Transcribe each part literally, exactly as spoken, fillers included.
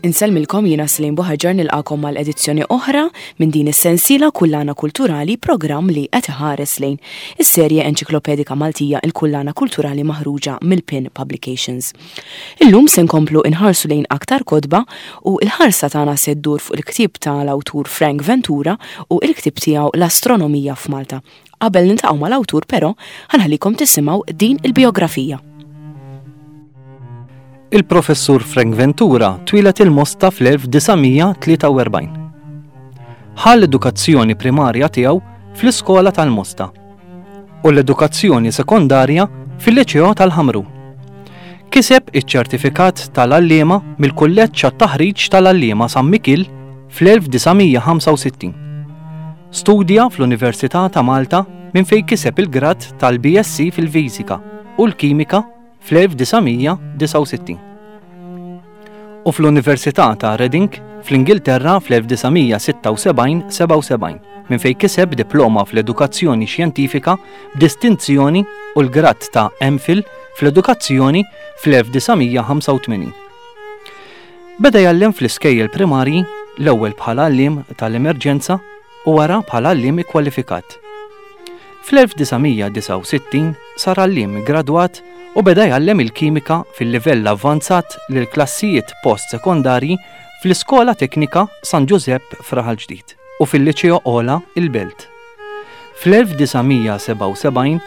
Insellmilkom, jiena Slim Buħaġar, nilqagħkom għal edizzjoni oħra minn din is-sensiela Kullana Kulturali, programm li qed iħares lejn is-serje enċiklopedika Maltija Il-Kullana Kulturali maħruġa mill-Pin Publications. Illum se nkomplu inħarsu lejn aktar kotba u il-ħarsa tagħna se ddur fuq il-ktieb tal-awtur Frank Ventura u il-ktieb tiegħu L-Astronomija f'Malta. Qabel niltaqgħu mal-awtur però, ħa nħallikom tisimgħu din il-biografija. Il-professur Frank Ventura twieled il-Mosta fl-elf disa' mija tlieta u erbgħin. Ħa l-edukazzjoni primarja tiegħu fl-iskola tal-Mosta u l-edukazzjoni sekondarja fil-Liċeo tal-Ħamrun. Kiseb iċ-ċertifikat tal-għalliema mill-Kulleġġ għat-Taħriġ tal-Għalliema San Mikil fl-elf disa' mija ħamsa u sittin. Studja fl-Università ta' Malta minn fejn kiseb il-grad tal-B S C fil-Fiżika u l-Kimika fl-elf disa' mija disgħa u sittin. U fl-Università ta' Reading fl-Ingilterra fl-elf disa' mija sitta u sebgħin sebgħa u sebgħin minn fejn kiseb diploma fl-edukazzjoni xjentifika b'distinzjoni u l-grad ta' M Phil fl-edukazzjoni fl-elf disa' mija ħamsa u tmenin. Beda jgħallem fl-iskejjel primarji, l-ewwel bħala għalliem tal-emerġenza u wara bħala għalliem ikkwalifikat. Fl-elf disa' mija disgħa u sittin sar għalliem gradwat u beda jgħallem il-kimika fil-livell avvanzat lil klassijiet post-sekondarji fl-Iskola Teknika San Giuseppe f'Raħal Ġdid u fil-Liċeo Ola il-Belt. Fl-elf disa' mija sebgħa u sebgħin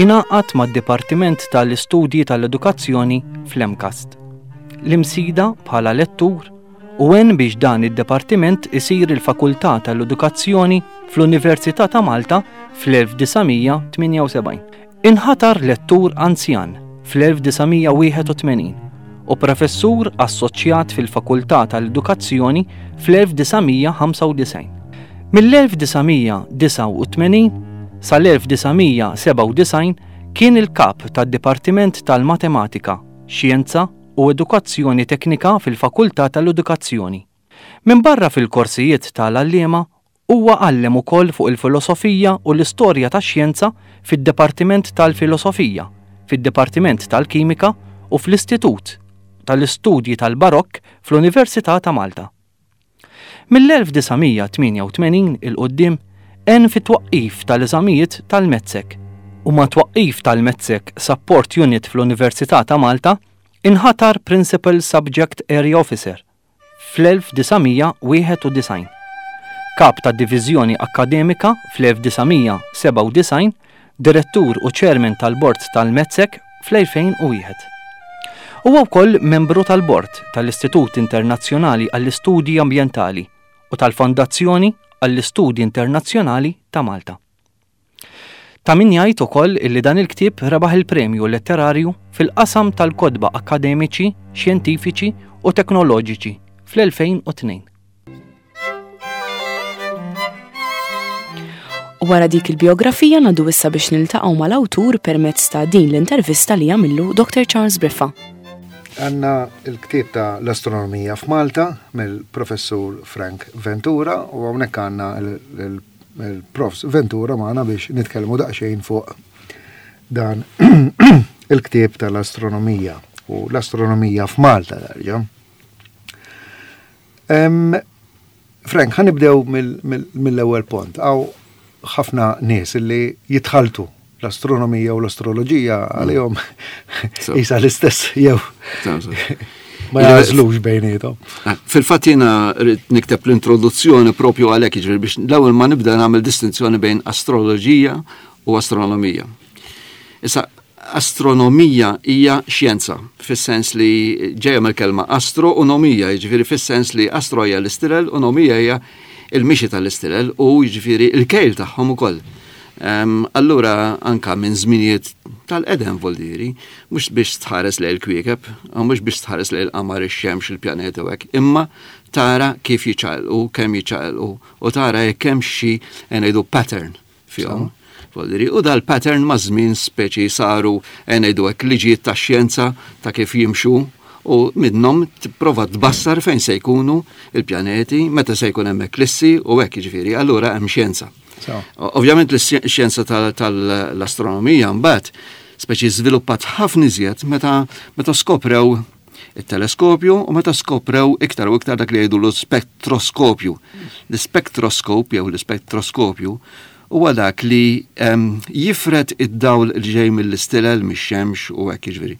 ingħaqad mad-Dipartiment tal-Istudji tal-Edukazzjoni fl-M C A S T l-Imsida bħala lettur u għen biex dan id-dipartiment isir il-Fakultà tal-Edukazzjoni fl-Università ta' Malta fl-elf disa' mija tmienja u sebgħin. Inħatar lettur anzjan fl-elf disa' mija wieħed u tmenin u professur assoċjat fil-Fakultà tal-Edukazzjoni fl-elf disa' mija ħamsa u disgħin. Mill-elf disa' mija disgħa u tmenin sal-elf disa' mija sebgħa u disgħin kien il-kap tad-Dipartiment tal-Matematika, Xjenza u Edukazzjoni Teknika fil-Fakultà tal-Edukazzjoni. Min barra fil-korsijiet tal-għalliema, huwa għallem ukoll fuq il-filosofija u l-istorja tax-xjenza fid-Dipartiment tal-Filosofija, fid-Dipartiment tal-Kimika u fl-Istitut tal-Istudji tal-Barokk fl-Università ta' Malta. Mill-elf disa' mija tmienja u tmenin 'il quddiem għen fit-twaqqif tal-eżamijiet tal-MATSEC u mat-twaqqif tal-MATSEC Support Unit fl-Università ta' Malta inħatar Principal Subject Area Officer fl-elf disa' mija wieħed u disgħin. Kap ta' Divizjoni Akademika fl-elf disa' mija sebgħa u disgħin, Direttur u Chairman tal-Bord tal-MATSEC fl-elfejn u wieħed. Huwa wkoll membru tal-Bord tal-Istitut Internazzjonali għall-Istudji Ambjentali u tal-Fondazzjoni għall-Istudji Internazzjonali ta' Malta. Ta' min jgħid ukoll illi dan il-ktieb rebaħ il-premju letterarju fil-qasam tal-kotba akademiċi, xjentifiċi u teknoloġiċi fl-elfejn u tnejn. U wara dik il-biografija ngħaddu issa biex niltaqgħu mal-awtur permezz ta' din l-intervista li għamillu Doctor Charles Briffa. Għandna il-ktieb ta' L-Astronomija f'Malta mill-professur Frank Ventura u hawnhekk għandna il-profs Ventura magħna biex nitkellmu daqsxejn fuq dan il-ktieb tal-astronomija u l-astronomija f'Malta darġa. Frank, ħa nibdew mill-ewwel punt. Hawn ħafna nies li jitħaltu l-astronomija u l-astroloġija, għalihom isa l-istess jew ma jagħżlux bejniethom. Ah, fil-fatt jiena rrid nikteb l-introduzzjoni propju għalhekk, jiġifieri biex l-ewwel ma nibda nagħmel distinzjoni bejn astroloġija u astronomija. Issa, astronomija hija xjenza, fis-sens li ġejja mill-kelma astro u nomija, jiġifieri fis-sens li astro hija l-istilel u nomija hija il-mixi tal-istilel u jiġifieri il-kejl tagħhom ukoll. Um, allura anka minn żminijiet tal-qedem, voldiri, mhux biex tħares lejn il-kwiekeb, u mhux biex tħares lejn il-qamar, ix-xemx, il-pjaneti u hekk, imma tara kif jiċċaqilqu, kemm jiċċaqilqu u tara jekk hemm xi ngħidu pattern fihom. Voldiri, u dal-pattern ma' żmien speċi saru ngħidu hekk liġijiet ta' xjenza ta' kif jimxu u minnhom tipprova tbassar fejn se jkunu il-pjaneti, meta se jkun hemm eklissi u hekk, jiġifieri, allura hemm xjenza. Ovvjament l-xjenza tal-astronomija mbagħad speċi żviluppat ħafna iżjed meta meta skoprew it-teleskopju u meta skoprew iktar u iktar dak li jgħidu l-spektroskopju. L-spektroskop jew l-spektroskopju huwa dak li jifred id-dawl li ġej mill-istilel, mix-xemx u hekk jiġifieri.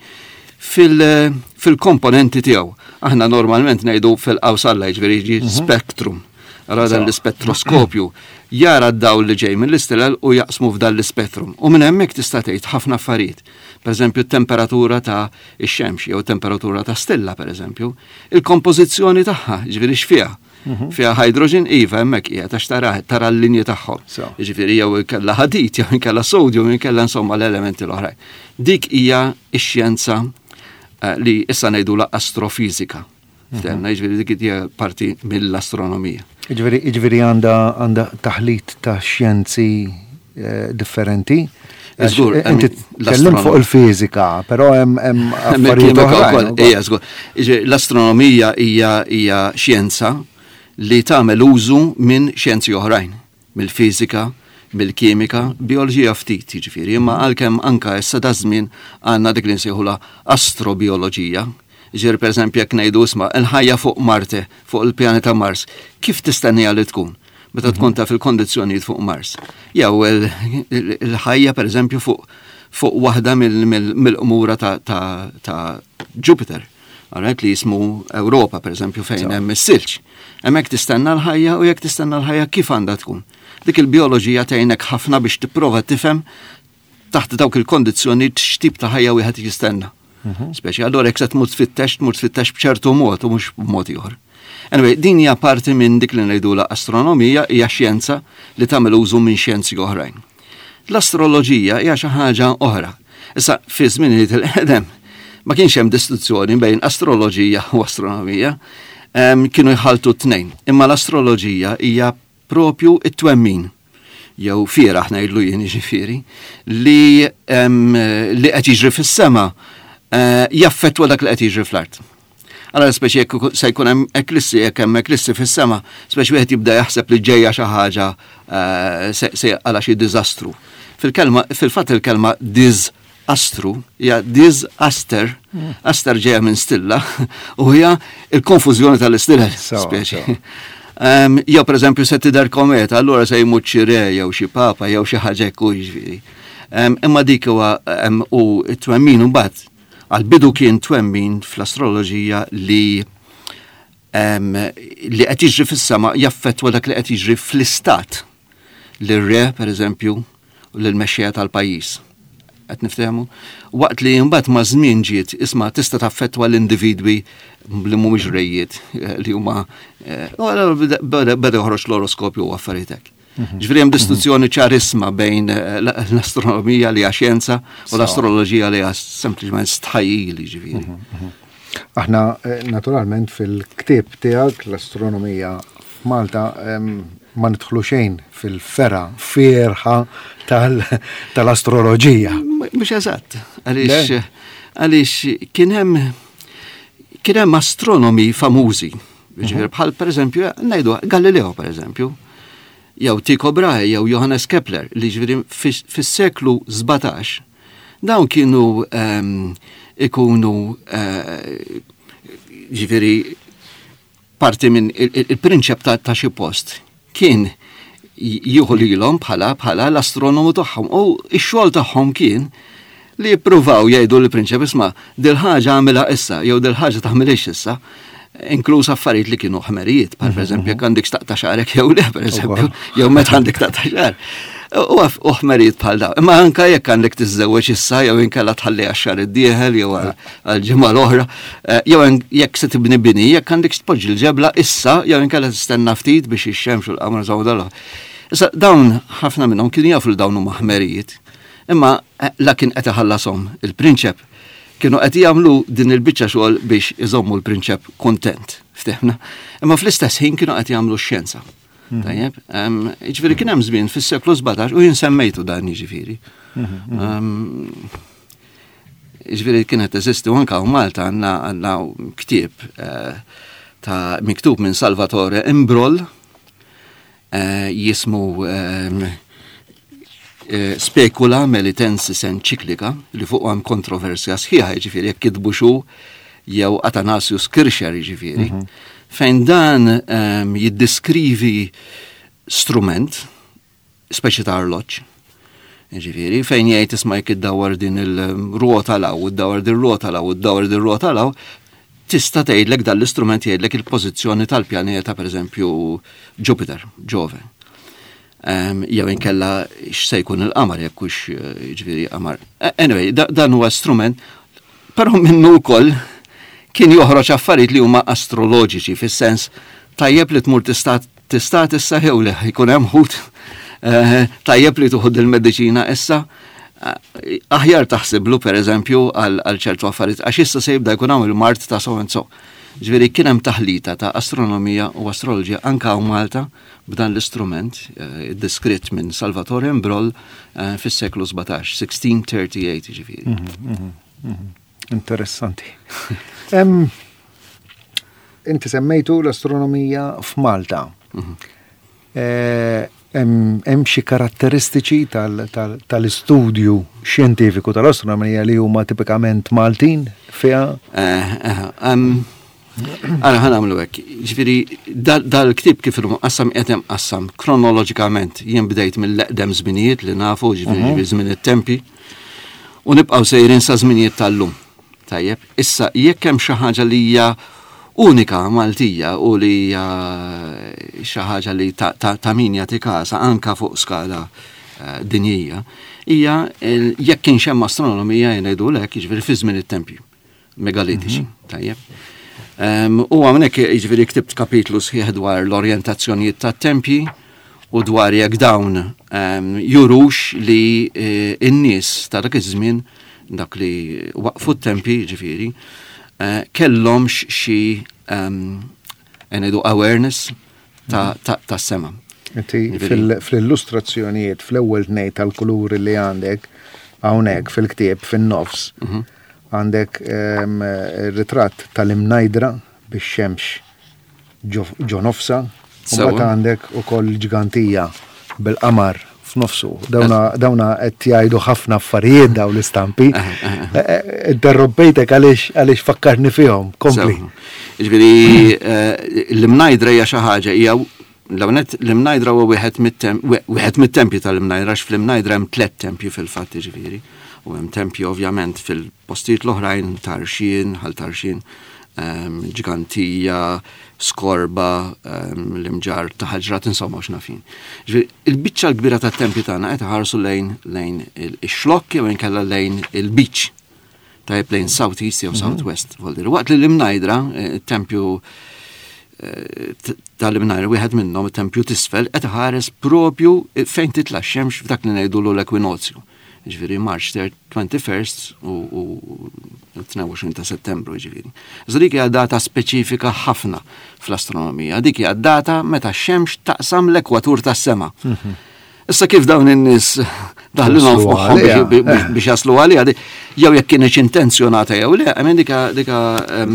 Fil-komponenti tiegħu. Aħna normalment ngħidu fil-qawsalla, jiġifieri jiġi mhm. spektrum. Allora dan l-ispettroskopju jara d-dawl li ġej mill-istilel u jaqsmu f'dan l-ispettrum. U minn hemmhekk tista' tgħid ħafna affarijiet. Per eżempju, temperatura ta' ix-xemx jew temperatura ta' stilla, per eżempju, il-kompożizzjoni tagħha, ġifieri x'fiha. Mhm. Fiha hydrogen, iva, hemmhekk qiegħed għax tara tara l-linji tagħhom. Jiġifieri jew inkella ħadid, jew inkella sodium, jew inkella insomma l-elementi l-oħrajn. Dik hija x-xjenza eh, li issa ngħidula astrofizika. Mhm. Ftemna, jiġifieri dik hija parti mill-astronomija. Jiġifieri jiġifieri għandha għandha taħlit ta' xjenzi eh, differenti. Żgur, eh, inti tkellim fuq il-fiżika, però hemm affarijiet oħra. Ija, żgur. L-astronomija hija hija xjenza li tagħmel użu minn xjenzi oħrajn, mill-fiżika, mill-kimika, bioloġija ftit, jiġifieri, imma għalkemm anka issa da żmien għandna dik li nsejħula astrobioloġija. Ġifieri pereżempju jekk ngħidu isma' il-ħajja fuq Marte, fuq il-pjaneta Mars, kif tistennija li tkun? Meta tkun taf il-kondizzjonijiet fuq Mars. Jew il-ħajja pereżempju fuq fuq waħda mill-qmura ta' Jupiter. Alright, li jismu Ewropa, per eżempju, fejn hemm is-silġ. Hemmhekk tistenna l-ħajja u jekk tistenna l-ħajja kif għandha tkun. Dik il-bioloġija tgħinek ħafna biex tipprova tifhem taħt dawk il-kondizzjoni x'tip ta' ħajja wieħed jistenna. Mhm. Speċi allura jekk se tmur tfittex, tmur tfittex b'ċertu mod u mhux b'mod ieħor. Anyway, din hija parti minn dik li ngħidula astronomija, hija xjenza li tagħmel użu minn xjenzi oħrajn. L-astroloġija hija xi ħaġa oħra. Issa fi żminijiet il-qedem ma kienx hemm distinzjoni bejn astroloġija u astronomija, kienu jħaltu t-tnejn. Imma l-astroloġija hija propju it-twemmin jew fieraħ ngħidlu jien jiġifieri li li qed jiġri fis-sema eh, jaffettwa dak li qed jiġri fl-art. Allora speċi jekk se jkun hemm eklissi, jekk hemm eklissi fis-sema, speċi wieħed jibda jaħseb li ġejja xi ħaġa eh, se għala xi diżastru. Fil-kelma, fil-fatt il-kelma diżastru hija disaster, mm. aster ġejja minn stilla u hija il-konfużjoni tal-istilel speċi. Um, jew pereżempju se tidher kometa, allura se jmut xi re jew xi papa jew xi ħaġa hekk jiġifieri. Um, imma dik huwa um, u t-twemmin mbagħad għal-bidu kien twemmin fl-astroloġija li um, li qed jiġri fis-sema jaffettwa dak li qed jiġri fl-istat lir-re pereżempju u lill-mexxejja tal-pajjiż. Qed niftehmu? Waqt li mbagħad ma' żmien ġiet isma' tista' taffettwa l-individwi li mhumiex rejiet eh, li huma eh, beda joħroġ l-oroskopju u affarijiet hekk. Mhm. Ġifieri hemm distinzjoni ċarisma bejn eh, l-astronomija li hija xjenza u l-astroloġija li hija sempliċement stħajjil ġifieri. Mhm, mhm. Aħna naturalment fil-ktieb tiegħek l-astronomija f'Malta ma nidħlu xejn fil-fergħa fierħa tal-astroloġija. Mhux eżatt, għaliex għaliex kien hemm kien hemm astronomi famużi, ġifieri bħal pereżempju ngħidu Galileo pereżempju, jew Tycho Brahe jew Johannes Kepler li ġifieri fis-seklu sbatax dawn kienu ehm, ikunu eh, ġifieri parti minn il-prinċep ta' xi post kien jieħu lilhom bħala bħala l-astronomu tagħhom u x-xogħol tagħhom kien li jippruvaw jgħidu lill-prinċep isma' dil-ħaġa għamilha issa jew dil-ħaġa tagħmilhiex issa, inkluż affarijiet li kienu ħmerijiet, bħal pereżempju jekk għandek taqta' xagħrek jew le pereżempju, jew meta għandek taqta' xagħar. U ħmerijiet bħal dawn. Imma anka jekk għandek tiżżewweġ issa jew inkella tħalli għax-xahar id-dieħel jew għall-ġimgħa l-oħra, eh, jew jekk se tibni bini, jekk għandek tpoġġi l-ġebla issa jew inkella tistenna ftit biex ix-xemx u l-qamar żgħu dal. Issa dawn ħafna minnhom kienu jafu li dawn huma ħmerijiet, imma eh, la kien qed iħallashom il-prinċep kienu qed jagħmlu din il-biċċa xogħol biex iżommu l-prinċep kontent, ftehna. Imma fl-istess ħin kienu qed jagħmlu x-xjenza. Mhm. Tajjeb, jiġifieri kien hemm żmien fis-seklu sbatax u jien semmejtu dan jiġifieri. Mhm, mhm. Jiġifieri kienet teżisti u anke Malta għandna għandna ktieb eh, ta' miktub minn Salvatore Imbrol eh, jismu eh, Specula Melitensis Encyclica li fuq hemm kontroversja sħiħa, jiġifieri jekk kitbu xu jew Athanasius Kircher, jiġifieri, mm -hmm. fejn dan um, jiddeskrivi strument, speċi ta' arloġġ, jiġifieri, fejn jgħid, isma', jekk iddawwar din il-rota 'l hawn, iddawwar din rota 'l hawn, iddawwar din rota 'l hawn, tista' tgħidlek, dan l-istrument jgħidlek il-pożizzjoni tal-pjaneta, pereżempju Jupiter, Ġove. Um, jew inkella x'se jkun il-qamar, jekk hux, jiġifieri, qamar. Anyway, dan huwa strument, però minnu wkoll kien joħroġ affarijiet li huma astroloġiċi, fis-sens tajjeb li tmur tista' tista' tista' jew le jkun hemm ħut, eh, tajjeb li tieħu il-mediċina issa, eh, aħjar taħsiblu, per eżempju, għal ċertu affarijiet għax issa se jibda jkun hawn il-mard ta' so and so. Ġifieri kien hemm taħlita ta' astronomija u astroloġija anka hawn Malta b'dan l-istrument eh, diskrit minn Salvatore Mbroll fis-seklu sbatax, sixteen thirty-eight ġifieri. Mhm, mhm, mhm. Interessanti. Inti semmejtu l-astronomija f'Malta. Eh, hemm xi karatteristiċi tal-istudju xjentifiku tal-astronomija li huma tipikament Maltin fiha? Eh, eh, Ara, ħa nagħmlu hekk. Ġifieri dal-ktieb kif qassam, qed qassam kronoloġikament. Jien bdejt mill-eqdem żminijiet li nafu, ġifieri mhm. żmien it-tempi, u nibqgħu sejrin sa żminijiet tal-lum. Tajjeb, issa jekk hemm xi ħaġa li hija unika Maltija u li hija xi ħaġa li ta' min jagħti kasa anka fuq skala eh, dinjija, hija jekk kienx hemm astronomija, jgħidu lek, jiġifieri fi żmien it-tempju megalitiċi. Mhm. Tajjeb. U hawnhekk, jiġifieri, ktibt kapitlu sħiħ dwar l-orjentazzjonijiet tat-tempji u dwar jekk dawn jurux li eh, n-nies ta' dak iż-żmien, dak li waqfu t-tempji, ġifieri, eh, kellhomx xi ngħidu awareness ta', ta, ta sema. Inti fl-illustrazzjonijiet, fl-ewwel tnejn tal-kuluri li għandek hawnhekk fil-ktieb fin-nofs, mhm. għandek ritratt tal-Imnajdra bix-xemx ġo nofsa, u mbagħad għandek ukoll Ġgantija bil-qamar f'nofsu. Dawna dawna qed jgħidu ħafna affarijiet daw l-istampi. Eh, eh, interrompejtek għaliex għaliex fakkarni fihom. Kompli. Ġifieri eh, l-Imnajdra hija xi ħaġa, hija l-għonet l-Imnajdra huwa wieħed mit-tempji tal-Imnajdra, għax fl-Imnajdra hemm tliet tempji fil-fatt, ġifieri. U hemm tempji ovvjament fil-postijiet l-oħrajn, Tarxien, Ħal Tarxien, Ġgantija, Skorba, l-Imġarr ta' Ħaġrat, insomma, x'nafin. Il-biċċa l-kbira tat-tempji tagħna qed ħarsu lejn lejn ix-xlokk jew inkella lejn il-beach. Tajjeb, lejn South East jew South West. Waqt li l-Imnajdra, eh, tempju eh, tal-Imnajdra, wieħed minnhom, it-tempju t'isfel, qed ħares propju fejn titla' x-xemx f'dak li ngħidulu l-ekwinozju. Ġifieri March twenty-first u tnejn u għoxrin ta' Settembru, ġifieri. Iżda dik hija data speċifika ħafna fl-astronomija. Dik hija data meta x-xemx taqsam l-ekwatur tas-sema. Mhm. Issa kif dawn in-nies daħlilhom f'moħħhom biex jaslu għaliha, jew jekk kienx intenzjonata jew le, għamen dika dika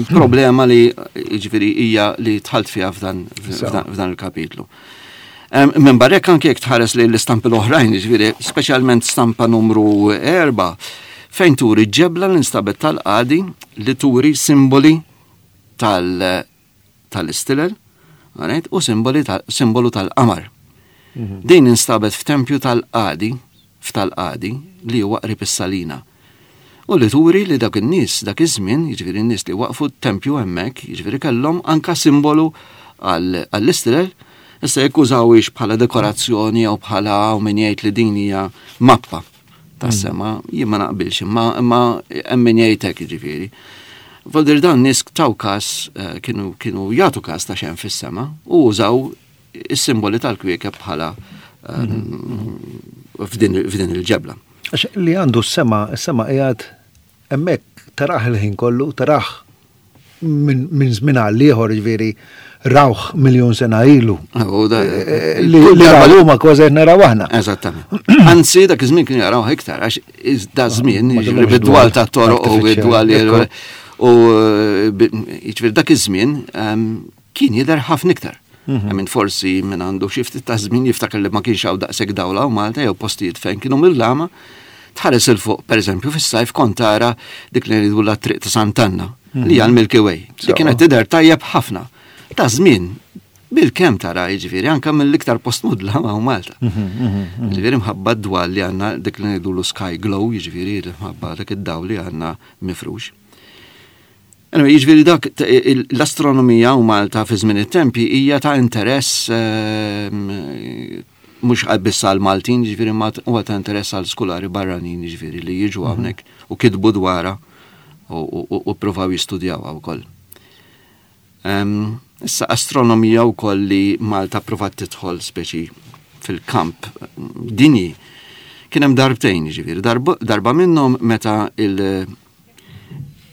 problema li, ġifieri, hija li dħalt fiha f'dan il-kapitlu. Minn barrek, anke jekk tħares li l-istampi l-oħrajn, ġifieri, speċjalment stampa numru erba, fejn turi ġebla li nstabet tal-qadi li turi simboli tal-istilel u simboli simbolu tal-qamar. Mhm. Din instabet f'tempju tal-qadi, f'tal-qadi li huwa qrib is-Salina. U li turi li dak in-nies, dak iż-żmien, jiġifieri n-nies li waqfu t-tempju hemmhekk, jiġifieri kellhom anka simbolu għall-istilel. Issa jekk użawhiex bħala dekorazzjoni jew bħala u min jgħid li din hija mappa tas-sema, jien ma naqbilx, imma imma hemm min jgħid hekk, jiġifieri. Voldir dan nies taw kas, eh, kienu kienu jagħtu kas ta' x'hemm fis-sema u użaw is-simboli tal-kwiekeb bħala eh, f'din f'din il-ġebla. Għax li għandu s-sema, s-sema qiegħed hemmhekk, tarah il-ħin kollu, tarah minn min żmien għal ieħor, ġifieri rawh miljun sena ilu. U da- Li li raw huma kważi qed naraw aħna. Eżattament. Anzi, dak iż-żmien kienu jaraw iktar, għax iż- da żmien, Ma jiġifieri kellhomx bid-dwal dwal ta' toroq u artificial, bid-dwal ekku. u jiġifieri dak iż-żmien ehm, kien jidher ħafna iktar. Mhm. Minn forsi minn għandu xi ftit ta' żmien jiftakar li ma kienx hawn daqshekk dawla u Malta jew postijiet fejn kienu mill-lama, tħares 'il fuq, pereżempju, fis-sajf kont tara dik li ngħidu la triq ta' Sant'Anna. li hija l-Milky Way, li kienet tidher tajjeb ħafna. Ta' żmien bil-kemm tara, jiġifieri anke mill-iktar post mudla ma' Malta. Jiġifieri mħabba d-dwal li għandna, dik li ngħidulu sky glow, jiġifieri mħabba dak id-dawl li għandna mifrux. Anyway, jiġifieri dak l-astronomija u Malta fi żmien it-tempi hija ta' interess ehm, mhux biss għal Maltin, jiġifieri ma huwa ta' interess għal skulari barranin, jiġifieri li jiġu hawnhekk u kitbu dwarha u provaw jistudjawha wkoll. Issa astronomija wkoll li Malta provat tidħol speċi fil-kamp dinji kien hemm darbtejn, jiġifieri darba minnhom meta il-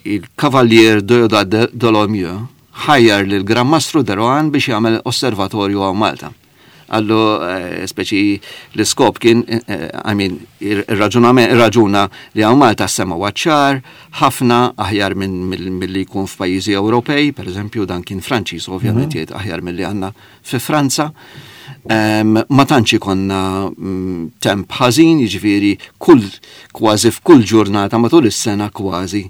il-Kavallier Déodat Dolomieu ħajjar lil Gran Mastru de Rohan biex jagħmel osservatorju hawn Malta. Għallu eh, speċi l-iskop kien, eh, I mean, il-raġunament, raġuna li hawn Malta sema ċar, ħafna aħjar minn mill-li jkun f'pajjiżi Ewropej, per eżempju, dan kien Franċiż, ovvjament mhm. jgħid aħjar mill-li għandna fi Franza. Ma tantx ikonna mm, temp ħażin, jiġifieri kull kważi f'kull ġurnata matul is-sena kważi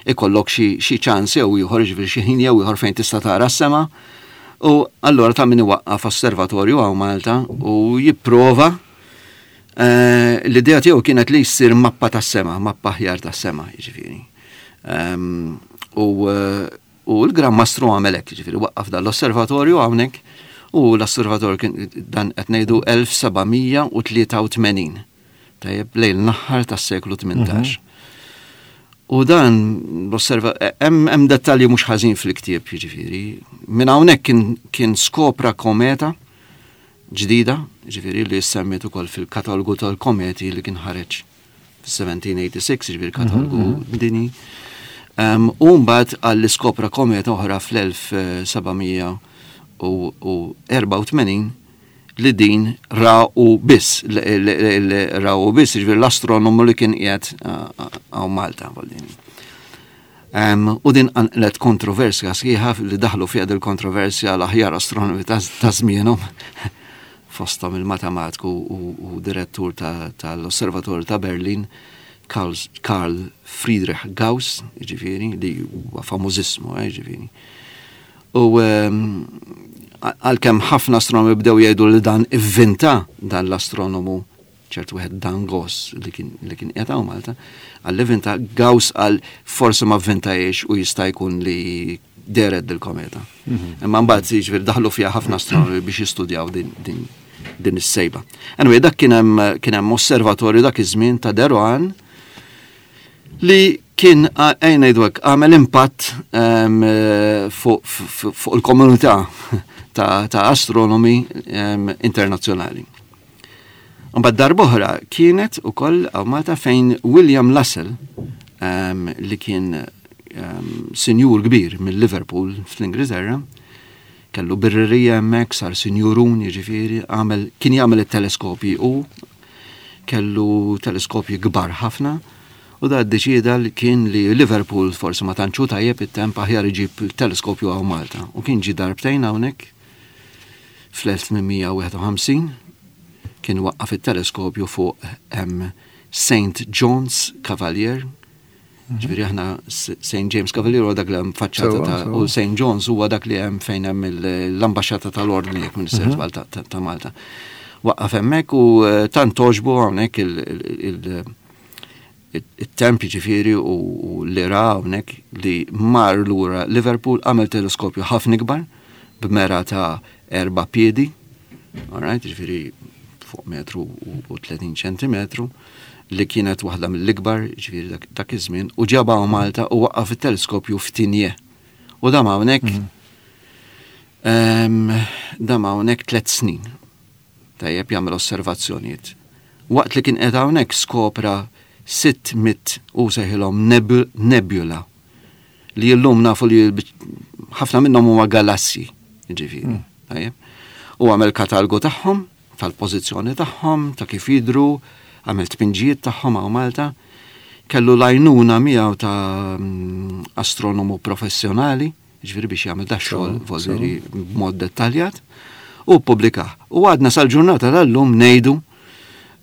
ikollok xi ċans jew ieħor, jiġifieri xi ħin jew ieħor fejn tista' tara s-sema. U allura ta' min iwaqqaf osservatorju hawn Malta u jipprova eh, l-idea tiegħu kienet li jsir mappa tas-sema, mappa aħjar tas-sema, jiġifieri. U eh, u l-Gran Mastru għamel hekk, jiġifieri waqqaf dan l-osservatorju hawnhekk u l-osservatorju kien dan qed ngħidu elf seba' mija u tlieta u tmenin. Tajjeb, lejn l-aħħar tas-seklu tmintax. U dan l-osserva hemm hemm dettalji mhux ħażin fil-ktieb, jiġifieri. Minn hawnhekk kien kien skopra kometa ġdida, jiġifieri li semmiet ukoll fil-katalgu tal-kometi li kien ħareġ fis-elf seba' mija u sitta u sebgħin, jiġifieri katalgu dinji. Um, u mbagħad għall skopra kometa oħra fl-elf seba' mija u erbgħa u tmenin li din raw biss, raw biss, jiġifieri l-astronomu li kien qiegħed hawn Malta. Um, u din qanqlet kontroversja sħiħa li daħlu fiha dil-kontroversja l-aħjar astronomi ta' żmienhom, fosthom il-matematiku u, u direttur tal-Osservatorju ta' Berlin, Carl, Carl Friedrich Gauss, jiġifieri, li huwa famużissmu, eh, jiġifieri. U għalkemm ħafna astronomi bdew jgħidu li dan ivvinta dan l-astronomu ċertu wieħed Dan Goss li kien li kien qiegħed hawn Malta, għal ivvinta. Gauss għal forsi ma vvintajiex u jista' jkun li dehret dil-kometa. Imma mbagħad jiġifieri daħlu fiha ħafna astronomi biex jistudjaw din din din is-sejba. Anyway, dak kien hemm kien hemm osservatorju dak iż-żmien ta' de Rohan li kien ejja ngħidu hekk għamel impatt fuq fuq il-komunità ta', ta astronomi um, internazzjonali. Mbagħad darb'oħra kienet ukoll hawn Malta fejn William Lassell um, li kien um, sinjur kbir mill Liverpool fl-Ingilterra, kellu birrerija hemmhekk, sar sinjurun, jiġifieri għamel kien jagħmel it-teleskopji u kellu teleskopji kbar ħafna u da ddeċida li kien li Liverpool forsi ma tantxu tajjeb it-temp, aħjar iġib teleskopju hawn Malta. U kien ġi darbtejn hawnhekk fl-elf tmien mija u wieħed u ħamsin, kien waqqaf it-teleskopju fuq Saint John's Cavalier. Ġifieri aħna Saint James Cavalier huwa dak li hemm faċċata ta' u Saint John's huwa dak li hemm fejn hemm l-ambaxxata tal-Ordni, jekk minn mhm. ta' Malta. Waqqaf hemmhekk u eh, tant toġbu hawnhekk il-temp, ġifieri u li ra hawnhekk, li mar lura Liverpool, għamel teleskopju ħafna ikbar b'mera ta' erba' piedi, alright, ġifieri fuq metru u tletin ċentimetru, li kienet waħda mill-ikbar, ġifieri dak iż-żmien, u ġabha Malta u waqqaf it-teleskopju f'Tignè. U dam hawnhekk mhm. dam hawnhekk tliet snin. Tajjeb, jagħmel osservazzjonijiet. Waqt li kien qed hawnhekk skopra sitt mitt u sejħilhom nebula li llum nafu li ħafna minnhom huma galassi, ġifieri. Mm. Tajjeb. U għamel katalgu tagħhom, tal-pożizzjoni tagħhom, ta' kif jidru, għamel tpinġijiet tagħhom hawn Malta. Kellu l-għajnuna miegħu ta' mm, astronomu professjonali, ġifieri biex jagħmel da xogħol voldiri b'mod dettaljat, u ppubblikah. U għadna sal-ġurnata tal-lum ngħidu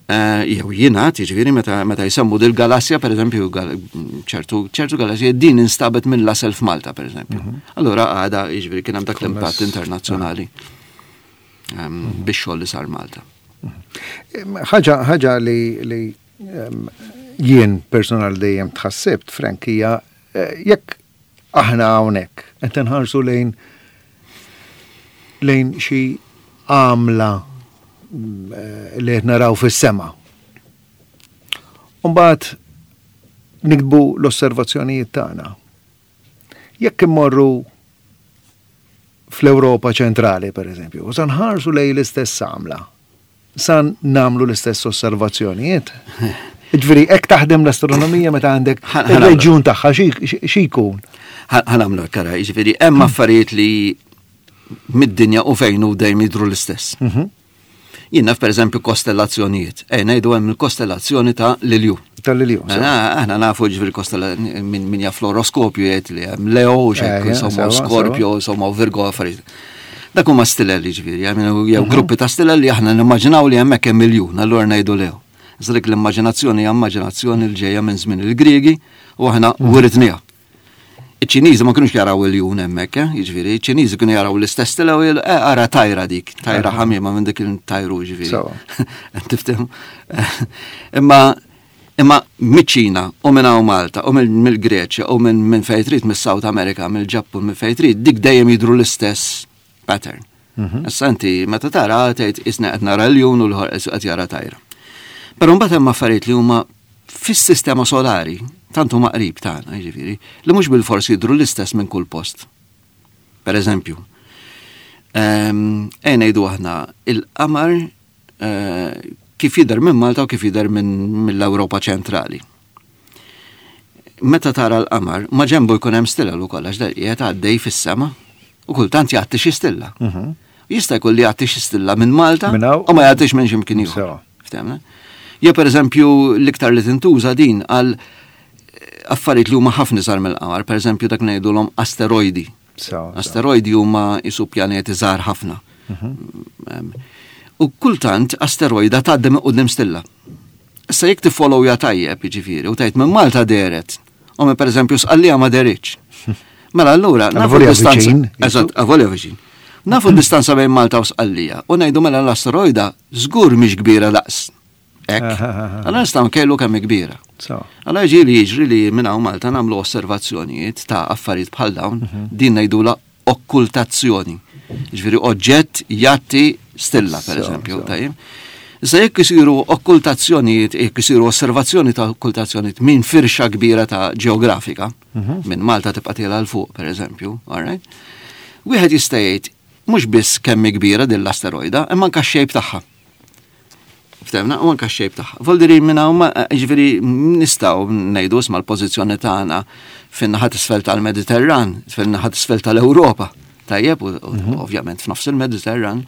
Eh, jew jingħad, jiġifieri meta meta jsemmu dil-galassja, pereżempju, ċertu ċertu galassja din instabet minn Lassell f'Malta, pereżempju. Mhm. Allura għada, jiġifieri kien hemm dak l-impatt internazzjonali ehm, biex xogħol li sar Malta. Mhm. Ħaġa ħaġa li li ehm, jien personal dejjem tħassibt, Frank, hija eh, jekk aħna hawnhekk qed inħarsu lejn lejn xi għamla li qed naraw fis-sema. Umbagħad niktbu l-osservazzjonijiet tagħna. Jekk immorru fl-Ewropa ċentrali, per eżempju, u sa nħarsu lejn l-istess għamla, sa nagħmlu l-istess osservazzjonijiet. Ġifieri, hekk taħdem l-astronomija meta għandek il-reġjun tagħha xi jkun. Ħa nagħmlu kara, ġifieri hemm affarijiet li mid-dinja u fejn u dejjem jidhru l-istess. Mhm. Jien naf pereżempju kostellazzjonijiet. Ej, ngħidu hemm il-kostellazzjoni ta' l-Iljun. Tal-Iljun. Aħna nafu ġifieri kostellazzjoni min jaf l-oroskopju jgħid li hemm Leo, xek, eh, insomma, Scorpio, insomma, Virgo, affarijiet. Dak huma stilel ġifieri, jew mhm. gruppi ta' stilel li aħna nimmaġinaw li hemmhekk hemm iljun, allura ngħidu Leo. Iżda dik l-immaġinazzjoni hija immaġinazzjoni li ġejja minn żmien il-Griegi u aħna mhm. wiritniha. Iċ-Ċiniżi ma kinux jaraw iljun hemmhekk, eh? Jiġifieri, iċ-Ċiniżi kienu jaraw l-istess stilla u jgħidu, eh, ara tajra dik, tajra ħamiema minn dik il-tajru ġifieri. Tifhem? Imma imma miċ-Ċina u minn hawn Malta u mill-Greċja u minn minn fejn trid mis-South America, mill-Ġappun, minn fejn trid, dik dejjem jidhru l-istess pattern. Mhm. Issa inti meta tara tgħid isna qed nara l-jun u l-ħor qed jara tajra. Però mbagħad hemm affarijiet li huma fis-sistema solari, tant huma qrib tagħna, jiġifieri, li mhux bilfors jidhru l-istess minn kull post. Per eżempju, ehm, ejja ngħidu aħna il-qamar eh, kif jidher minn Malta u kif jidher minn mill-Ewropa ċentrali. Meta tara l-qamar, ma ġembu jkun hemm stilla ukoll għax dak qiegħed għaddej fis-sema u kultant jgħatti xi stilla. Mhm. Jista' jkun li jgħatti xi stilla minn Malta u ma jgħattix minn x'imkien ieħor. Ftehmna? Jew pereżempju l-iktar li tintuża din għal affarijiet li huma ħafna iżgħar mill-qamar, pereżempju dak ngħidulhom asteroidi. Asteroidi huma isu pjaneti żgħar ħafna. Mhm. U kultant asteroida tgħaddi minn quddiem stilla. Issa jekk tiffollowja tajjeb, jiġifieri, u tgħid minn Malta dehret, u minn pereżempju Sqallija ma deritx. Mela allura nafu d-distanza. Eżatt, avolja viċin. Nafu d-distanza bejn Malta u Sqallija u ngħidu mela l-asteroida żgur mhix kbira daqs. Hekk. Allora nistgħu nkejlu kemm kbira. Allora ġieli jiġri li minn hawn Malta nagħmlu osservazzjonijiet ta' affarijiet bħal dawn, mhm. din ngħidula okkultazzjoni. Ġifieri oġġett jgħatti stilla, per eżempju, tajjeb. Issa jekk isiru okkultazzjonijiet, jekk isiru osservazzjoni ta' okkultazzjonijiet minn firxa kbira ta' ġeografika, mhm. minn Malta tibqa' tiela 'l fuq, per eżempju, all right? Wieħed jista' jgħid mhux biss kemm kbira din l-asteroida, imma anke x-shape tagħha. Ftehmna, u anke x-shape tagħha. Voldiri minn hawn ġifieri nistgħu ngħidu isma' l-pożizzjoni tagħna fin-naħa t'isfel tal-Mediterran, fin-naħa t'isfel tal-Ewropa. Tajjeb, u mhm. ovvjament f'nofs il-Mediterran,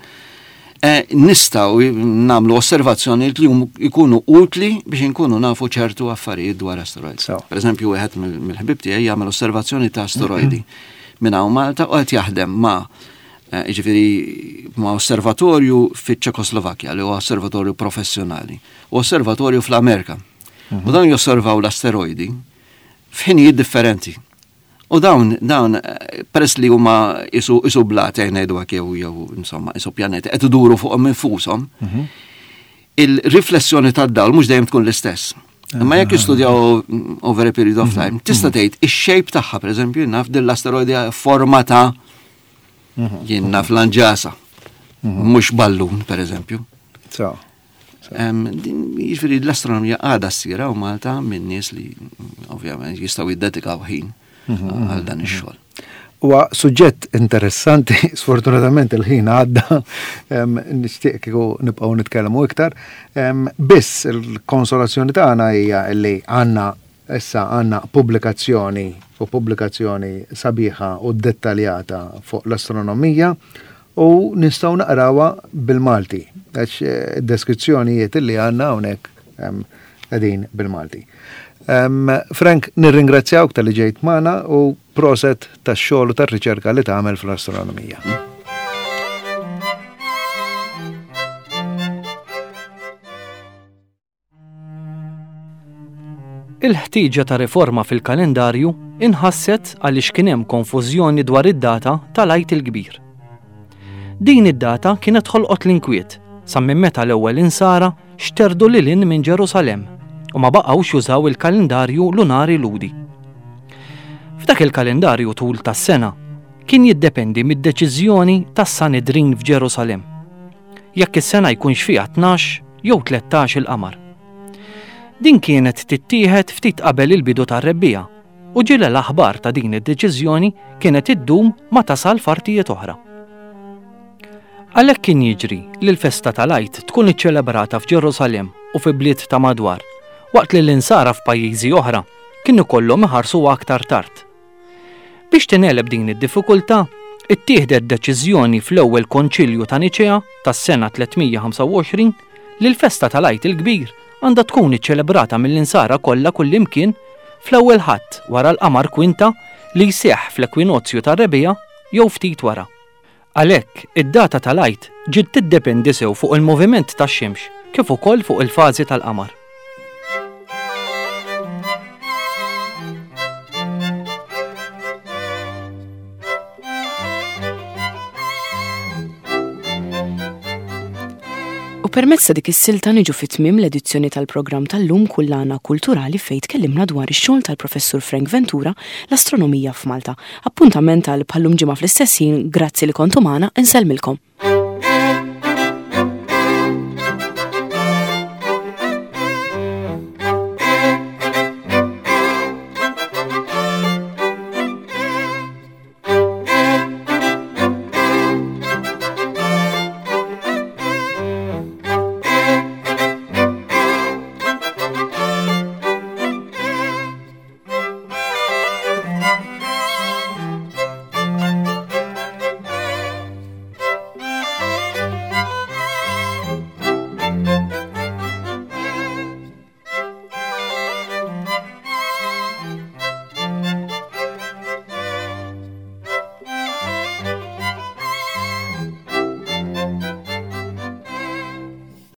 eh, nistgħu nagħmlu osservazzjoni li jkunu utli biex inkunu nafu ċertu affarijiet dwar asteroids. Per eżempju, wieħed mill-ħbib tiegħi jagħmel osservazzjoni ta' asteroidi minn hawn Malta u qed jaħdem ma' eh, jiġifieri ma' osservatorju fiċ-Ċekoslovakkja li huwa osservatorju professjonali u osservatorju fl-Amerika. Mhm. U dawn josservaw l-asteroidi f'ħinijiet differenti. U dawn, dawn, eh, peress li huma isu, isu blat, eh, ngħidu hekk jew jew insomma, isu pjaneti, qed iduru fuqhom infushom, mhm. il-riflessjoni tad-dawl mhux dejjem tkun l-istess. Imma jekk jistudjaw over a period of mhm. time, tista' mhm. tgħid ix-shape tagħha, pereżempju, naf din l-asteroidi forma ta' mhm. jien naf lanġasa, mhux ballun, pereżempju. Jiġifieri l-astronomija għadha ssir hawn Malta minn nies li ovvjament jistgħu jiddedikaw ħin għal dan ix-xogħol. Huwa suġġett interessanti, sfortunatament il-ħin għadda, nixtieq kieku nibqgħu nitkellmu iktar. Biss il-konsolazzjoni tagħna hija li għandna issa għandna pubblikazzjoni u pubblikazzjoni sabiħa u dettaljata fuq l-astronomija u nistgħu naqrawha bil-Malti, għax eh, id-deskrizzjonijiet li għandna hawnhekk qegħdin bil-Malti. Frank, nirringrazzjawk talli ġejt magħna u proset tax-xogħol u tar-riċerka li tagħmel fl-astronomija. Il-ħtieġa ta' riforma fil-kalendarju inħasset għaliex kien hemm konfużjoni dwar id-data tal-Għid il-Kbir. Din id-data kienet ħolqot l-inkwiet sa minn meta l-ewwel insara xterdu lil hinn minn Ġerusalemm u ma baqgħux jużaw il-kalendarju lunari Lhudi. F'dak il-kalendarju tul tas-sena kien jiddependi mid-deċiżjoni tas-Sanedrin f'Ġerusalemm. Jekk is-sena jkunx fiha tnax jew tlettax il-qamar. Din kienet tittieħed ftit qabel il-bidu tar-rebbiegħa u ġieli l-aħbar ta' din id-deċiżjoni kienet iddum ma tasal f'artijiet oħra. Għalhekk kien jiġri li l-festa tal-Għid tkun iċċelebrata f'Ġerusalemm u fi bliet ta' madwar, waqt li l-insara f'pajjiżi oħra kien ikollhom iħarsu aktar tard. Biex tingħeleb din id-diffikultà, ittieħdet deċiżjoni fl-ewwel Konċilju ta' Niċea tas-sena tliet mija ħamsa u għoxrin li l-festa tal-Għid il-Kbir għandha tkun iċċelebrata mill-insara kollha kullimkien fl-ewwel Ħadd wara l-qamar kwinta li jseħħ fl-ekwinozju tar-rebbiegħa jew ftit wara. Għalhekk, id-data tal-Għid ġiet tiddependi sew fuq il-moviment tax-xemx kif ukoll fuq il-fażi tal-qamar. U permezz ta' dik is-silta niġu fi tmiem l-edizzjoni tal-programm tal-lum Kullana Kulturali, fejn tkellimna dwar ix-xogħol tal-Professur Frank Ventura, l-astronomija f'Malta. Appuntament għal bħal-lum ġimgħa fl-istess ħin, grazzi li kontu magħna, insellmilkom.